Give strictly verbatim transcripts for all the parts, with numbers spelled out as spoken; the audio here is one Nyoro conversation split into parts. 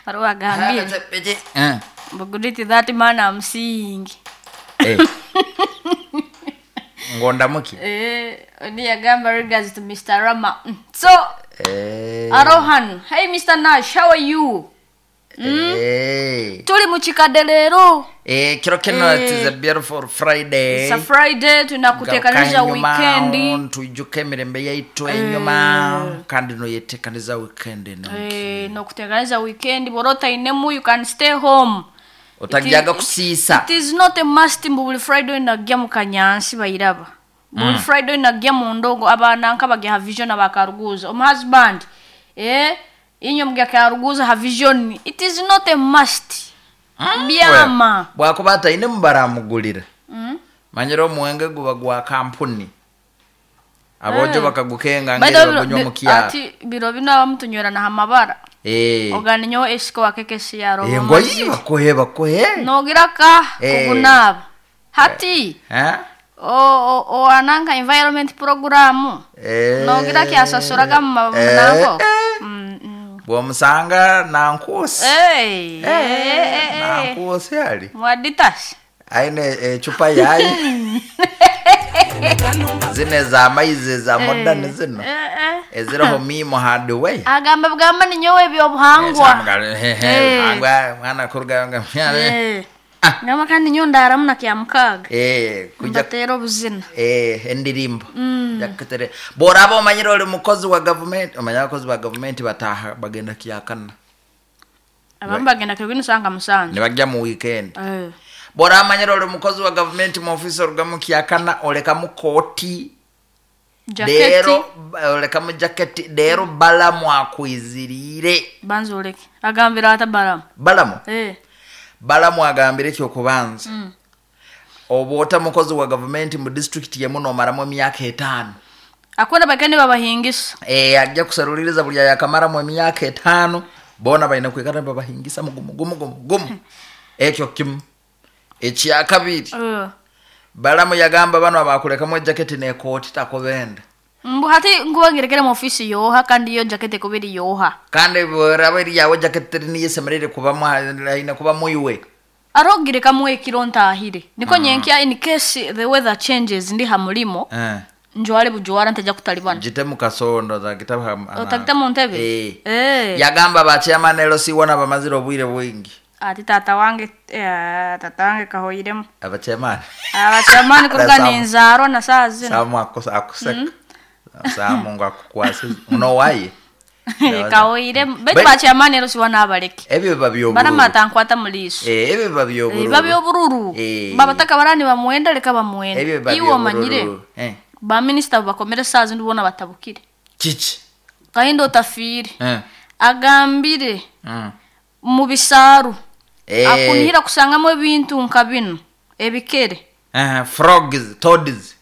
Hariho agambire Eh. mbu, "That man I'm seeing." Eh. Ngondamuki. Eh, oni yagamba regards to Mister Rama. Mm. So Eh. Arohan, hey Mister Nash, how are you? Eh. Tuli mu kikadde leero. Eh, kiro kino, Eh. it is a beautiful Friday. It's a Friday, tunakuteekaniza weekend. Tuijuka emirembe yaitu enyuma kandi noyetekaniza weekend eno. Eh, nokuteekaniza weekend, bw'oba otainemu, you can stay home. Otagyaga It is- kusiisa. It is not a must mbu buli Friday najja mu kanyansi bayiraba. Buli Friday najja mu ndongo abaana nka bagya ha vision abakaruguza. Omu husband, eh, inywe mugya karuguza ha vision. It is not a must. Byama. Bwakuba atainemu baramugulira. Mm. Manyire omuwenge guba gwa kampuni, abojo Eh. bakagukenga By the ngeri way, bagunywa bi- mu kyaro. Ati biro bino abamu tunywera na hamabara. Eh. Ogani nyowe esiko wakeke yaro. Eh, ngoyi bakohe bakohe. Nogira ka Eh. kugunaba. Hati Eh? o o, o ananka environment program. Eh. Nogira kyasasuraga mu Eh, nanko. eh. Mm, mm. Bwomusanga nankusi. Hey, eh, eh, eh. Nankusi ali Mwaditas. aine ecupa yayi zino ezamaizi za modern zino Eh, eh. eziriho mimo hardware. Agamba bugamba ni nyowe ebyobuhangwa. Eh. Mwana kuruga. Eh. Ngamba kandi nyowe ndaramu na kya mukaaga. Kuja Mbateera obuzina. eh, endirimbo jakutere bworaba omanyire oli mukozi wa gavumenti, omanye abakozi ba gavumenti bataha bagenda kyakana. Abamu bagenda kirwini sanga musanju. Nibajja mu weekend. Eh. Bworaba amanyire oli mukozi wa gavumenti mu ofisi orugamu kyakana olekamu kooti. Jaketi. Leero olekamu jaketi, leero Balamu akwiziriire. Banza oleke. Agambira ata Balamu? Balamu. Eh. Balamu agambire ekyokubanza, oba ota mukozi wa gavumenti mu disitulikiti yemu nomaramu emyaka etaano. Akwenda bagende babahingisa. Eh, ajja kusaluliriza buli ayakamaramu emyaka etaano, boona balina kwikara babahingisa mugumu gumu gumu gumu. Ekyo kimu. Ekyakabiri, Eh. Balamu yagamba bano abakulekamu ejaketi nekooti takobenda. Mbu hati nkubangirekere mu ofisi yoha kandi yo jaketi kubiri yoha. Kandi bweraba eriyawe jaketi teri niyo esemerere kubamu, aine kubamu iwe. Arogirekamu ekiro ntahire. Niko nyenkya in case the weather changes ndi ha mulimo Eh. njwale bujwara ntajja kutalibana. Gite mu kasondo zagita. Otagita mu ntebe? Eh. Eh. Yagamba bachairman L C wana bamazire obwire bwingi. Ati tata wange, eh, tata wange kahoiremu. Abachairman. Abachairman kuruga Samu. ninzaarwa na saa zino. Samu akusa akuseka. Samu ngo akukwase unowaye. Kahoiremu. Baitu Bai- bachairman ero siwana abaleke. Ebyo biba byobururu. Baramata nkwata muliiso. Eh, ebyo biba byobururu. Biba byobururu. Eh. Babataka barani bamwenda leka bamwenda. Ebyo biba Iwe omanyire. byobururu. Eh. Baminisita bakomere saa zino bona batabukire. Kiki? Kahinda otafiire. Eh. Agambire Mm. mu bisaaru. Eh. Akunihira kusangamu ebintu nka bino ebikere. Eh, frogs, toads,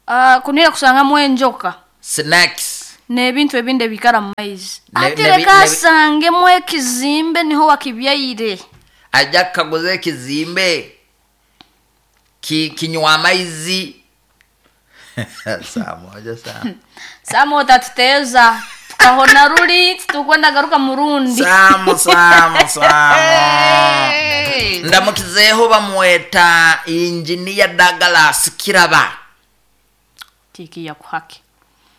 Ah, kunihira kusangamu enjoka snakes. N'ebintu ebindi ebikara mu maizi. Ne- Ati nebi- leka nebi- asangemu ekizimbe niho wakibyaire. Ajja kukaguza ekizimbe ki, kinywa amaizi saa moja saa Samu otatuteeza tukahona ruli tukwenda garuka murundi. Samu, Samu, Samu. Hey! Ndamukizeeho bamweta Injiniya Douglas Kiraba. Tiki ya kuhaki.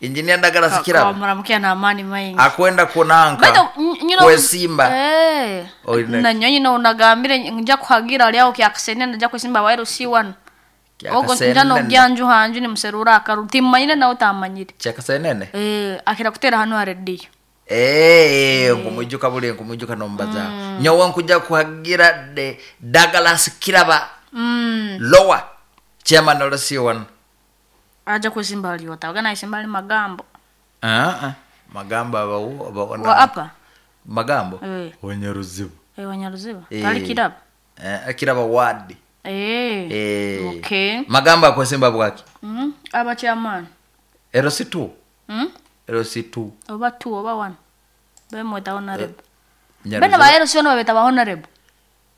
Injiniya Douglas Kiraba. Muramukia na amani maingi. Akwenda kunanka Baitu, n- nyina kwesimba. Eh. Oine- Na nyonyi na unagambire nja kuhagira ali aho kyakasene nja kwesimba wairu si wano. Ogo nja no gyanju hanju ni muserura akaru timanyire nawe utamanyire. Kyakasenene. Eh, akira kutera hano ha radio. Eh, nkumujuka buli nkumujuka nombaza nyowe nkuja kuhagira de Douglas Kiraba Mm. lower chairman L C one. Aja kwesimba ali otaga na isimba ali magambo. Ah ah, magambo abawo abawona. Wa apa? Magambo. Eh. Wanyaruzibu. Eh, Wanyaruziba. Eh. Tali Kiraba. Eh, Kiraba ward. Eh. Eh. Okay. Magambo akwesimba bwaki? Mm. Aba chairman. L C two. Mm. L C two. Oba two oba one. Bemweta honorable. Nyaruzibu. Bena ba L C one babeta ba honorable.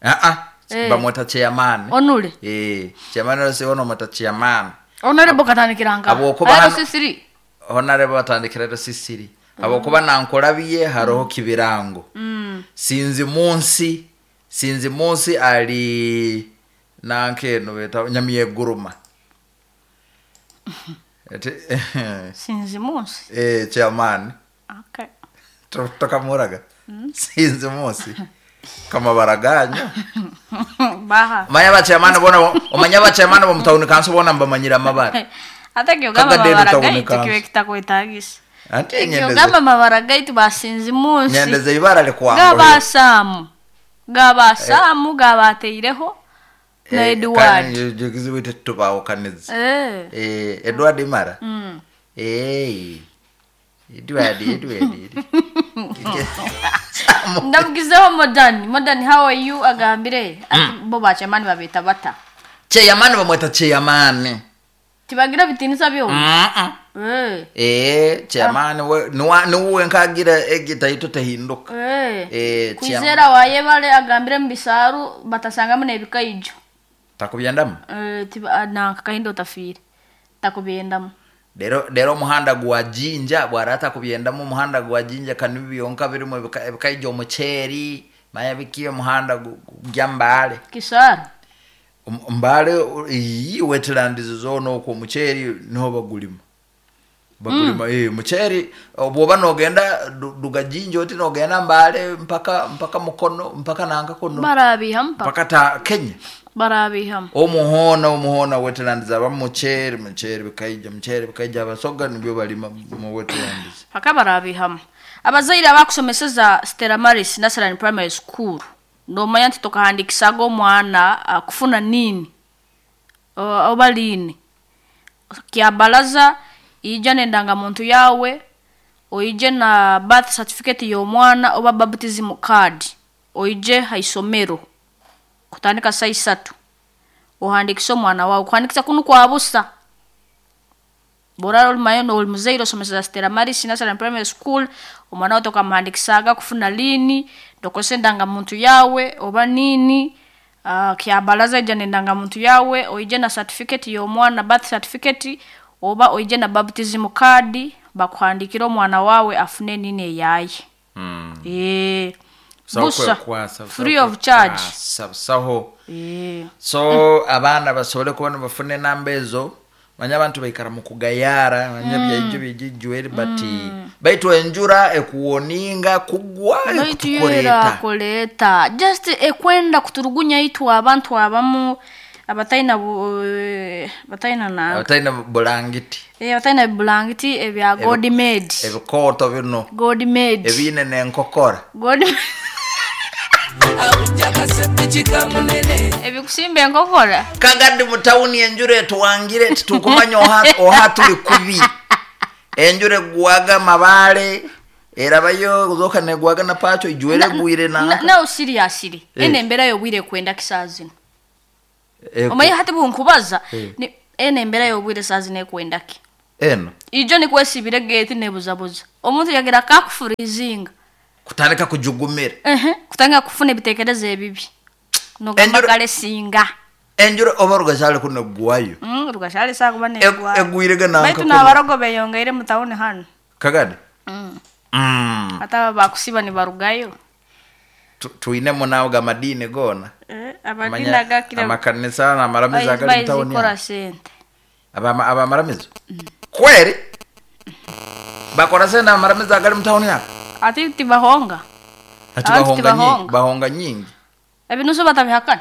Ah ah. Eh. Bamweta chairman. Onule. Eh, chairman L C one omweta chairman. Honorable katandikiranga. Habwokuba hano- L C three. Honorable batandikira L C three, habwokuba nankolabiye haroho kibirango. Mm. Sinzi munsi sinzi munsi ali nankeno beta Nyamyeguruma. Ete- Sinzi munsi. Eh, chairman. Okay. To- tokamuraga sinzi munsi kamabaraganya. Baha. Manya bachairman bona, omanya bachairman bo mutawuni kanso bona mbamanyira amabara. Ate kyogamba Kagadde amabara tawuni gaitu kanso. kibe kitakwetagisa. Ante nyendeze Kyogamba amabara gaitu basinzi munsi. nyendeze ibara likwangwe. Gabasaamu. Gabasaamu gabateireho na Edward. Kizibu tetubawukaniza. Eh. Eh, Edward Mara. Mm. Eh. Edward, Edward. Ndamugizeho Modern. Modern, how are you, agambire ati bo bachamani babeta bata. Chairman bamweta chairman. Tibagira bitinisa byo. Mm. Eh. Eh, chairman we nuwa nuwe nkagira egita ito tehinduka. Eh. Eh, chairman. Kwizera wayebale agambire mu bisaru batasangamu n'ebikaijo. Takubyendamu. Eh, tiba nanka kahindo tafire. Takubyendamu. Rero rero omuhanda gwa Jinja bwarata kubyendamu, omuhanda gwa Jinja kanibi byonka birimu ebika- ebikaijo omuceeri manya biki omuhanda gu- gwa Mbale. Kisaru. Um- Mbale iyi wetlands zona okwo omuceeri niho bagulima bagulima mm. Eh, muceeri bwoba nogenda du- duga Jinja oti nogenda Mbale mpaka mpaka Mukono mpaka nanka kuno Barabihamu paka. mpaka ta Kenya. Barabihamu. Omuhona omuhona wetlands aba muceeri muceeri bikaija muceeri bikaija abasoga nibyo balima mu wetlands. Paka barabihamu. Abazaire abakusomeseza Stella Maris Nursery Primary School nomanya nti tokahandikisaga omwana ah, kufuna nini O- oba liini kyabalaza ija n'endangamuntu yawe, oije na birth certificate y'omwana oba baptism card, oije haisomero kutandika saa isatu ohandikise omwana wawe. Kuhandikisa kunu kwa busa. Borara olimayo oli muzaire osomeseza Stella Maris Nursery Primary School, omwana wawe tokamuhandikisaga kufuna liini, tokozesa endangamuntu yawe oba nini. Uh, kyabalaza ija n'endangamuntu yawe, oije na certificate y'omwana birth certificate oba oije na baptism card, bakuhandikire omwana wawe afune nini eyaye. Mm. Eh, Busaho busa kwekwasa, busaho free of charge. kwekwasa, busaho. Eh. So abaana basobole kuba nibafuna enamba ezo, manya abantu baikara mu kugayara manya byaijo byejijweri bati baitu enjura ekuwoninga kugwa Baitu ekutukoreeta. Kuleta just ekwenda kuturugunya itwe abantu abamu abataina bu- eh, bataina na abataina bulangiti. Eh, abataina bulangiti ebya god made. Ebikooto bino. God made. Ebiine n'enkokora. God ebikusimba enkokora. Kagadi mu tawuni enjura etuwangire titukumanya oha, oha tuli kubi. Enjura egwaga mabaale erabayo zoka negwaga na pacho ijwere egwire Na- nanka. Nawe seriously, Eh. ene embeera y'obwire ekwenda ki saa zino? Eku- Omanyi hati bunkubaza Eh. ni- ene embeera y'obwire saa zino ekwenda ki? Eno Ijo nikwesibira egeeti nebuzabuza omuntu yagira kakufurizinga. Kutandika kujugumira. Ehe, kutanga kufuna ebitekerezo ebibi nogamba Enjura- kale singa enjura oba rugashale kuno egwayo. Mm, rugashale sakuba Eg- negwayo. Egwirege nanka Baitu kuno. n'abarogo beyongeire mu tawuni hano. Kagadi. Mm. Mm. Ate aba bakusiba nibarugayo. Tu- tuinemu nawe gamadini gona. Eh, amadini Amanya- agakira amakanisa n'amaramizo agali mu tawuni bayizikora hano. sente. Abama- abamaramizo kweri bakora sente amaramizo agali mu tawuni yako. Ate tibahonga. Ati Abantu bahonga nyingi tibahonga. Bahonga nyingi. Ebinusu batabihakana.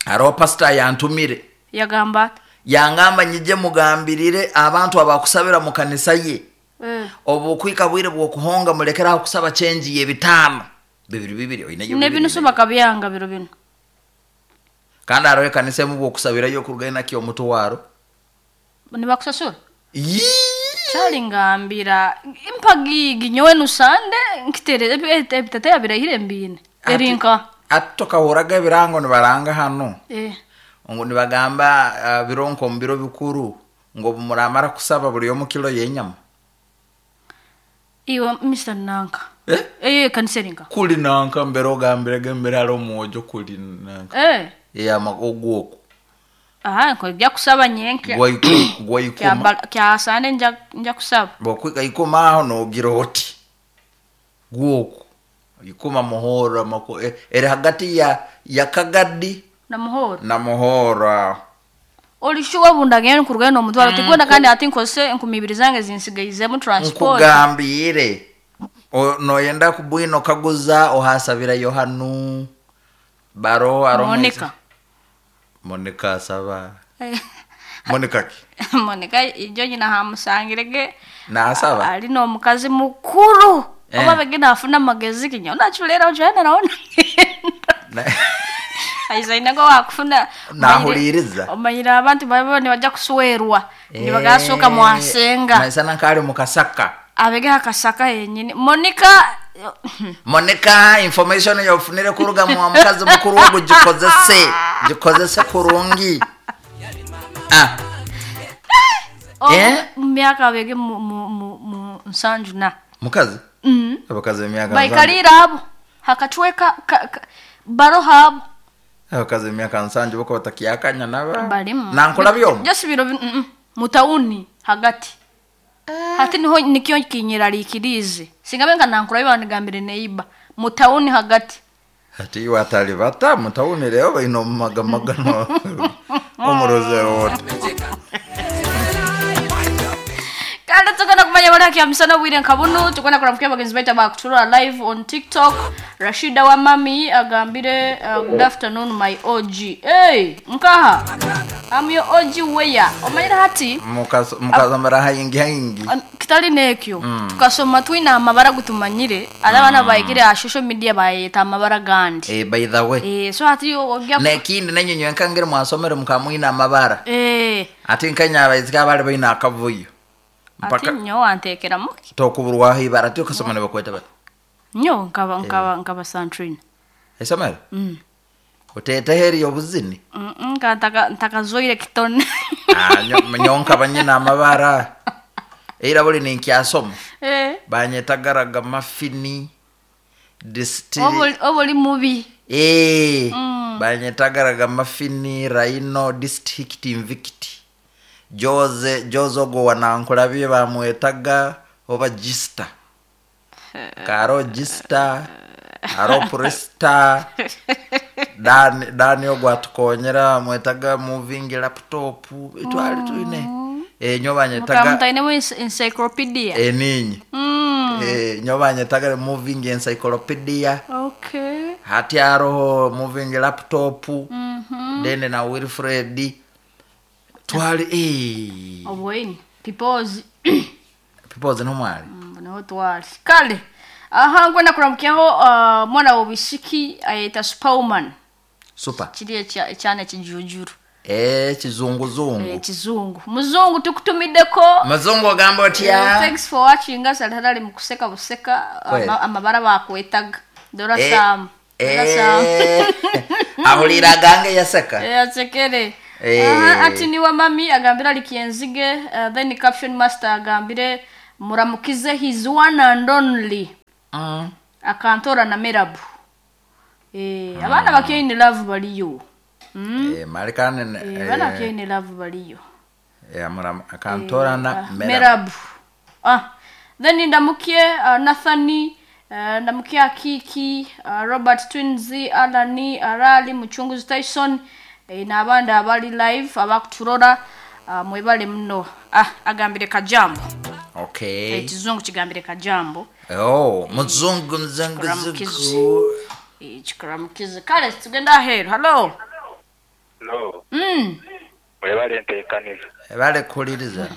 Hariho pasita yantumire. Yagamba ati? Yangamba nyije mugambirire abantu abakusabira mu kanisa ye. Eh. Obukwika bwire bwokuhonga mulekeraho kusaba chenji y'ebitaano bibiri bibiri oineyo bibiri, N'ebinusu oineyo. bakabyanga biro bino. Kandi hariho ekanisa emu bwokusabirayo okurugayo nakyo omutwaro. Nibakusasura. Yii! Kyali ngambira mpagigi nyowe nusande nkitere ebiteteya birahire mbiine. Ati- Erinka. Ati tokahuraga ebirango nibaranga hano Eh. ngo nibagamba ah, biro nko mu biro bikuru ngo muramara kusaba buri omu kilo y'enyama. Iwe Mister Nanka. Eh? Eh, kanisa erinka. Kuli nanka mbere ogambirege mbere hariho omwojo kuli nanka. Eh. Eyama ogwoku. Aha, nko kusaba nyenke. Gwaiku- gwaikuma. Kya kya sande nja nja kusaba. Bwokwika ikuma aho nogira oti gwoku Ikuma Muhoro mako eh, eri hagati ya ya Kagadi Na Muhoro. Na Muhoro. Olishuwa bundagenda nkurugenda n'omutwaro mm. Tigwenda kandi ati nkose enkumi ibiri zange zinsigaizemu transport. Nkugambire. Noyenda kubwino kaguza ohasabira Yohanu. Baro aro Monica. Monica asaba. Monica ki? Monica ijo nyina hamusangirege. Na asaba. Ali no mukazi mukuru. Eh. Oba begina afuna magezi kinya. Unachulera ujana naona. Aizaina go wakufuna nahuliriza. Omanyira abantu babo bajja kuswerwa. Eh. Nibagasoka mwasenga. Maisana nkali mukasaka. Abege akasaka yenyini. Monica Monica information yofunire kuruga mu mukazi mukuru wo gikozese. Gikozese kurungi. Ah. Oh, eh? Myaka abege mu mu mu, mu nsanju na. Mukazi? Mm. Abakazi emyaka. Baikalira abo. Hakachweka ka, ka, baro habo. Abakazi emyaka nsanju bako batakyakanya naba. Balimu. Nankola byomu. Just biro mm -mm. Mutauni hagati. Hati niho nikyo kinyiralikirize. Singabe nga nankula biba nigambire neiba. Mutauni hagati. Hati iwe atali bata mutauni leo baino magamagano. Omuroze wote. Kandi tugana kumanya bari hakiya misana bwire nkabunu tugana kuramukira bagenzi baita bakutura live on TikTok. Rashida wa mami agambire uh, good afternoon my O G. Hey, nkaha. I'm your O G where? Omanyira hati mukasomera hayingi hayingi. Kitali nekyo. Mm. Tukasoma twina amabara gutumanyire alabana mm. Bayikire a social media bayeta amabara gandi. Eh, by the way. Eh, so hati ogya nekindi nenyonyo nkangire mwasomere mukamwina amabara. Eh. Ati nkanya abayizika bali bayina akavuyo. Ati nyo antekera muki. Tokuburwa ibara ti ukasoma ne bakweta bati. Nyo nkaba nkaba nkaba santrina. Esomero? Mm. Otete heri obuzini? Mm nka ntaka ntakazoire kitone. Ah nyo nyo nkaba nyina amabara. Era buli ninkyasoma. Eh. Banyetagaraga mafini distill. Obuli obuli mubi. Eh. Mm. Banyetagaraga mafini rhino district invicti. Jose Jose go wanankulabye bamwetaga oba gista. Karo gista, aro presta. Dan Daniel gwatukonyera mwetaga moving laptop itwali tuine. Eh nyobanyetaga Mukamutaine mu encyclopedia. Eh ninyi. Mm. Eh nyobanyetaga moving encyclopedia. Okay. Hati aroho moving laptop. Mhm. Mm Then na Wilfred twali eh obweni peoples peoples no mwali mm, no twali kale aha ngwena kuramukyaho uh, mwana wobishiki ayeta Superwoman super kiri ekyana kijujuru eh kizunguzungu eh kizungu muzungu tukutumideko muzungu ogamba otya eh, thanks for watching us alhalali mukuseka buseka ama, amabara bakwetaga dora eh, sam dora sam eh, ahulira gange yaseka eh yasekere. Eh. Aha, ati ni wa mami agambira likienzige uh, then caption master agambire muramukize his one and only mm. akantora na merabu eh mm. Abana bakye in love baliyo mm. Eh malikane eh, abana bakye in love baliyo eh muram akantora eh, na uh, merabu. Merabu ah then ndamukie uh, Nathani uh, ndamukie Akiki uh, Robert Twinzi Alani Arali Muchunguzi Tyson e, n'abandi abali live abakuturora uh, mwebale muno ah agambire kajambo. Okay. Ekizungu kigambire kajambo. Oh, muzungu mzungu mzungu. Eh kikuramukize. Kale tugenda aheru. Hello. Hello. Mm. Mwebale ntekaniza. Ebale kuliriza.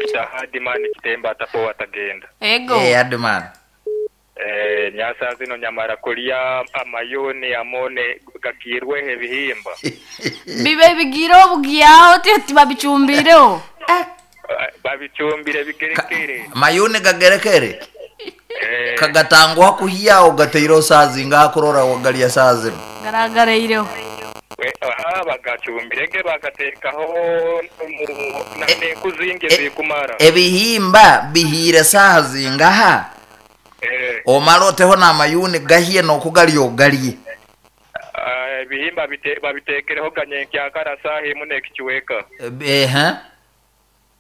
Kita Hadimani kitemba atapo watagenda. Ego. Eh Hadimani. Eh nyasa zino nyamara kulia amayoni amone gakirwe ebihimba. Bibe bigiro bugyaho ti babicumbireo. Babicumbire bigerekere. Mayune gagerekere. Eh kagatangwa kuhiya ugateiro sazi ngakurora wagalia sazi. Garagareireo. We aha bagacumbirege bagatekaho na kuzinge zikumara. Ebihimba bihire sazi ngaha. Eh. Omaloteho na mayune gahiye no kugalyo galie. Ebihimba bite babitekereho ganyenkya karasahi mune kichweka. Eh ha.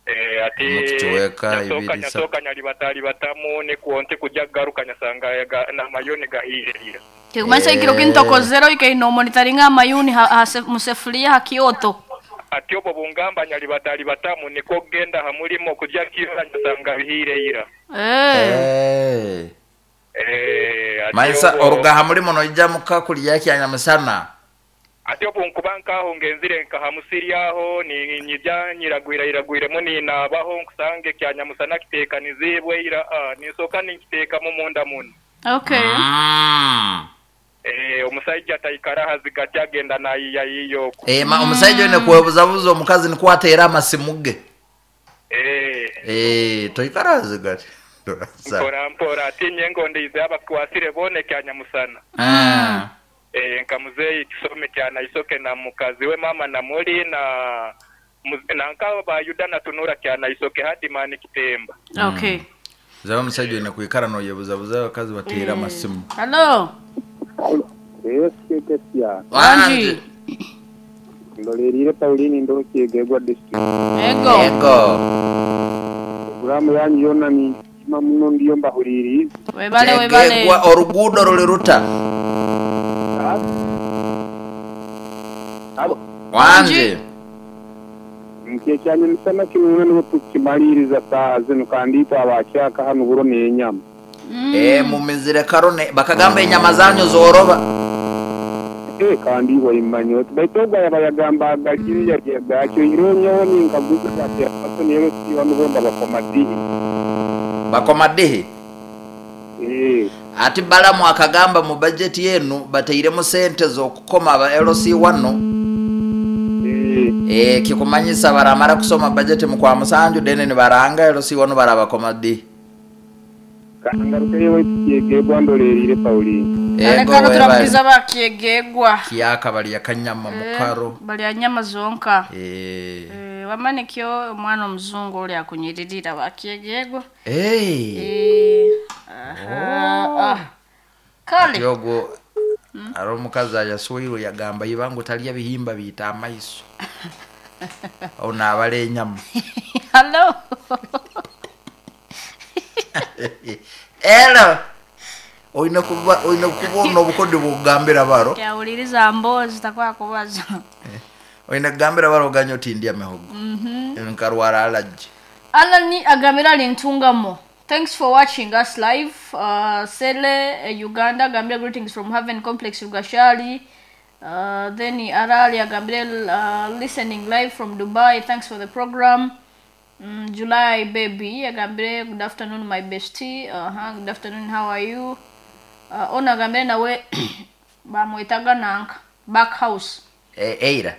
Eh, ati Mukichweka, nyasoka ibiri, nyasoka nyalibata batamu nikuo nti kujya garuka nyasanga ga- n'amayoni gahirira. Kikumanyisa ekiro kintokozero ikaino monitoringa amayuni ha, ha, se- musefuria ha kyoto. Ati obwo bungamba nyalibata batamu niko genda hamulimo kujya kirora nyasanga bihireira. Eh. Eh. Eh, ati Maisa obwo- orugaha mulimo noija muka kulya kyanyamusana. Ati obwo nkuba nkaho ngenzire nkahamusiri aho ni nyijya nyiragwira iragwiremo ninabaho nkusange kyanyamusana kitekanizibwe ira ah, nisoka nikitekamo munda muno. Okay. Mm. Eh, omusajja taikara hazigati agenda nayiya yiyoko. Eh, ma omusajja oine kwebuzabuza omukazi nikwo ateera amasimu ge. Eh, Eh, toikara hazigati. mpora mpora ati nyengo ndize abakwasire bone kyanyamusana. Mm. Eh, nka muzeyi kisome kyana isoke na mukazi we mama na muli na muz- na nka bayuda na tunura kyana isoke hadi mani kitemba. Okay. Zaba omusajja oine kwikara noyebuzabuza abakazi bateera amasimu. Hello. Yes, Kekesia. Wanji. Ndolerire Pauline ndo Kyegegwa district. Ego. Ego. Programu yanyu yona ni ima muno ndiyo mbahuririza. Webale webale. Kyegegwa oruguudo ruli ruta. Abo Wanji. nkekyanya misana kino nibo tukimaliriza saa zino kandi itwe abakyaka hano buro n'enyama. Eh, mumizire karone bakagamba enyama zanyu zoroba. Eh, kandi waimanya oti baitu ogwo yabayagamba agaliriya gakyo ironyeho ninkaguza ati abato nero siwa nubomba bakomadihi. Bakomadihi. Eh, Ati Balamu akagamba mu budget yenu bateiremu sente z'okukoma aba L C wano. eh, Eh, kikumanyisa baramara kusoma budget mu kwa musanju dene ni baranga L C wano barabakomadi. kangarukeyo waitu Kyegegwa ndolerire Pauline. Ego Alekano webale. turabukiza bakyegegwa. Kiyaka balya kanyama mukaro. Balya nyama zonka. Eh. Eh, wamanikyo omwana omuzungu oli akunyiririra bakyegegwa. Eh. Eh. Aha. Ah. Kale. Ati ogwo ari omukazi ayaswirwe yagamba ibangu talya bihimba biita amaiso. Aho naabala enyama. Hello. Elo. Oine kuba oine kubona obukodde bw'okugambira baro. Kyawuliriza mboozi takwakubaza. Oine kugambira baro oganye oti ndya mihogo. Mhm. Nkarwara allergy. Alani agambira ali Ntungamo. Thanks for watching us live. Uh, Sele, uh, Uganda, Gambia, greetings from Haven Complex, Rugashali. Uh, then Arali Agambire, uh, listening live from Dubai. Thanks for the program. Mm, July baby, Agambire, good afternoon, my bestie. Uh-huh, good afternoon, how are you? Uh, ona Agambire nawe bamwetaga nanka back house. Eh, eira.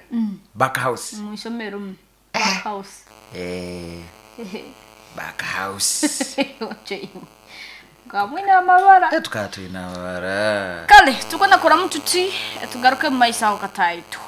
Back house. Mwisomero mm. Back house. Eh, back house. Ngamwina amabara. Eh, tukaba tulina amabara. Kale tukwenda kuramu tuti tugaruke mu maiso aho kataitu.